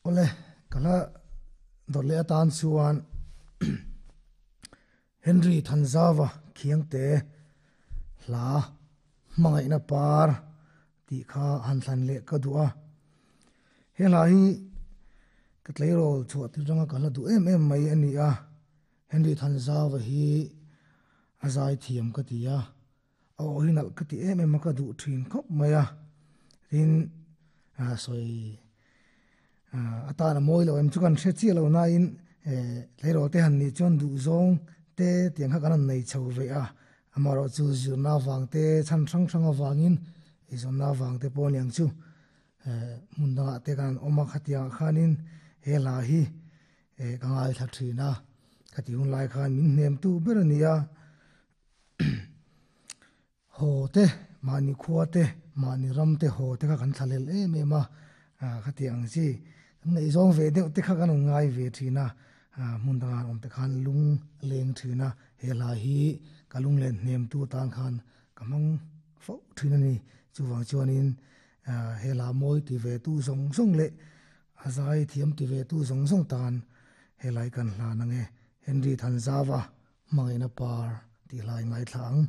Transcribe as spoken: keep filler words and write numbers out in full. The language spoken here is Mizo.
Ole kala dawrh leh atan chuan Henry Thanzava Khiangte hla hmangaihna par tih kha han thlan leh ka duh a. He hla hi ka tleirawl chhuah tir atanga ka hla duh em em mai a ni a. Henry Thanzava hi a zai thiam ka ti a, a aw hi nalh ka ti em em a ka duh thin khawp mai a. Tin sawi atan a mawi lo em chu kan hre chiah lo nain tleirawl te han nih chuan duh zawng te tiang kha kan han nei chho ve a. Amaherawh chu zirna avang te chhan hrang hrang avangin eizawnna avang te pawh aniang chu hmun dangah te kan han awm a khatiangah khanin he hla hi ka ngaithla thin a. Khati hun lai khan min hnem tu ber a ni a. Haw te mahni khua te mahni ram te haw te kha kan thlalel em em a. Khatiang chi kan ngaihzawng ve deuh te kha kan rawn ngai ve thin a. Hmun dangah an awm te khan lung leng thin a. He hla hi ka lung len hnem tu tan khan ka hmang fo thin a ni. Chuvang chuanin he hla mawi ti ve tu zawng zawng leh a zai thiam ti ve tu zawng zawng tan he lai kan hlan ang e. Henry Thanzava hmangaihna par tih hlai ngaithla ang.